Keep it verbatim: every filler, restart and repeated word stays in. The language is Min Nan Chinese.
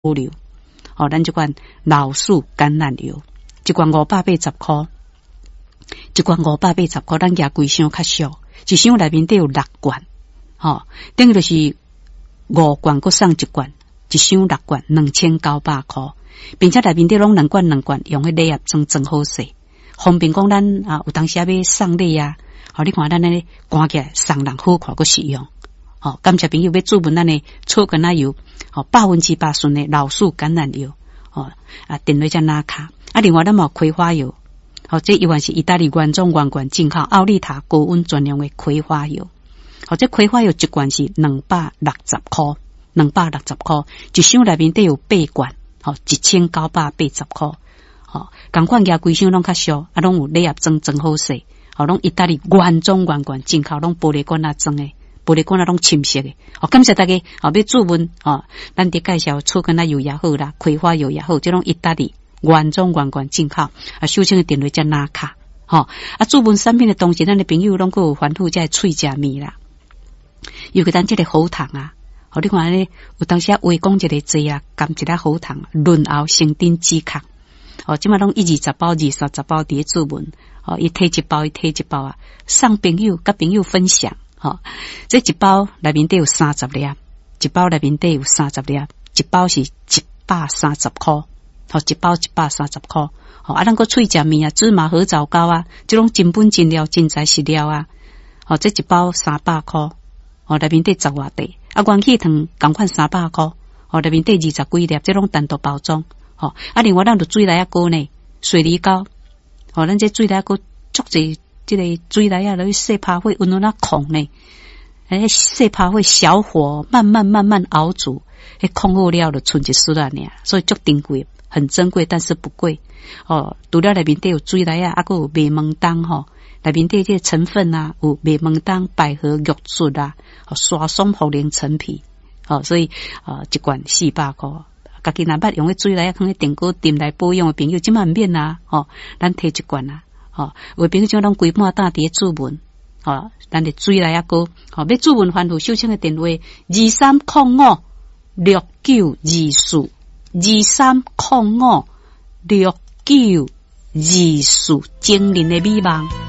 留。哦，咱這款老樹橄欖油，一罐五百八十箍，一罐五百八十箍，咱舉規箱較俗，一箱內面底有六罐，吼，等於就是五罐閣送一罐，一箱六罐，兩千九百箍，並且內面底攏兩罐兩罐，用彼禮盒裝裝好勢，方便講咱啊有當時欲送禮啊，吼，你看咱按呢關起來送人好看閣實用，吼，感謝朋友欲注文咱的草根仔油，吼，百分之百純的老樹橄欖油，吼，啊，電話才拿卡，啊，另外咱嘛有葵花油，吼，這猶原是意大利原裝原罐進口奧利塔高溫專用的葵花油，吼，這葵花油一罐是兩百六十箍，兩百六十箍，一箱內面底有八罐，吼，一千九百八十箍，吼，仝款舉規箱攏較俗，啊，攏有禮盒裝裝好勢，吼，攏意大利原裝原罐進口，攏玻璃罐仔裝的。玻璃罐仔攏深色的，哦，感謝大家，哦，欲注文，哦，咱佇介紹草根仔油也好啦，葵花油也好，這攏意大利原裝原罐進口，啊，收錢的電話才拿卡，吼，啊，注文產品的同時，咱的朋友攏閣有煩惱這喙食物啦，尤其咱這個喉糖啊，吼，你看按呢，有當時啊話講一个濟啊，含一粒喉糖，潤喉生津止渴，哦，這馬攏一二十包、二三十包佇咧注文，哦，伊提一包，伊提一包啊，送朋友，佮朋友分享。吼，這一包內面底有三十粒，一包內面底有三十粒，一包是一百三十箍，吼，一包一百三十箍。吼，啊，咱閣喙食物啊，芝麻核棗糕啊，這種真本真料、真材實料啊。吼，這一包三百箍，吼，內面底十外塊。啊，元氣糖仝款三百箍，吼，內面底二十幾粒，這攏單獨包裝。吼，啊，另外咱有水梨仔糕呢，水梨糕，吼，咱這水梨仔糕足濟。這个水梨仔落去細拍火，溫溫仔炕呢？欸，細拍火小火慢慢慢慢熬煮，彼炕好了就賰一絲仔爾，所以足珍貴，很珍貴，但是不貴。哦，除了內面底有水梨仔，啊，閣有麥門冬吼，內面底這個成分啊，有麥門冬、百合、玉竹啊，沙松、茯苓、陳皮，哦，所以啊，一罐四百箍。家己若捌用彼水梨仔，囥佇電鍋炖來保養的朋友，這馬毋免啊，吼，咱提一罐啊，吼，有的朋友這攏規半擔佇咧注文，吼，咱的水梨仔糕，吼，欲注文番號收錢的電話二三空五六九二四二三空五六九二四，精靈的美夢。